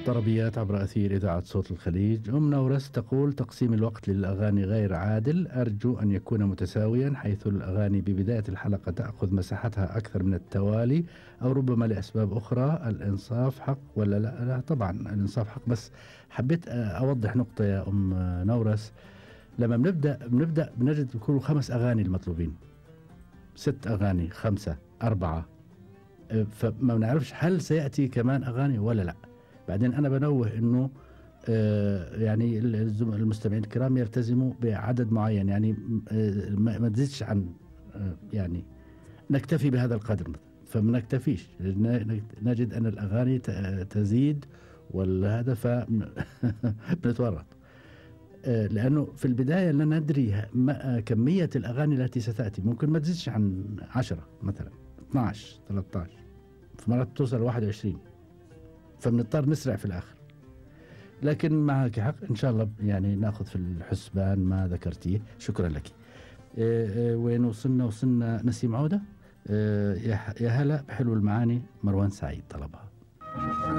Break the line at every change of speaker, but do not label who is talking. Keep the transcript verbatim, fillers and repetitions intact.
طربيات عبر أثير إذاعة صوت الخليج. أم نورس تقول: تقسيم الوقت للأغاني غير عادل، أرجو أن يكون متساويا، حيث الأغاني ببداية الحلقة تأخذ مساحتها أكثر من التوالي، أو ربما لأسباب أخرى. الإنصاف حق ولا لا؟ لا طبعا الإنصاف حق، بس حبيت أوضح نقطة يا أم نورس. لما بنبدأ بنبدأ بنجد بيكونوا خمس أغاني المطلوبين، ست أغاني، خمسة، أربعة، فما بنعرفش هل سيأتي كمان أغاني ولا لا. بعدين أنا بنوه إنه آه يعني المستمعين الكرام يلتزموا بعدد معين، يعني آه ما تزيدش عن آه يعني نكتفي بهذا القدر، فما نكتفيش، نجد أن الأغاني تزيد وهذا فبنتورط آه لأنه في البداية لا ندري كمية الأغاني التي ستأتي، ممكن ما تزيدش عن عشرة مثلا، اثنا عشر، ثلاثة عشر، في مرات توصل واحد وعشرين، فبنضطر نسرع في الآخر. لكن معك حق إن شاء الله، يعني نأخذ في الحسبان ما ذكرتيه. شكرا لك. إيه إيه وين وصلنا؟ وصلنا نسيم عودة. إيه يا هلا بحلو المعاني، مروان سعيد طلبها.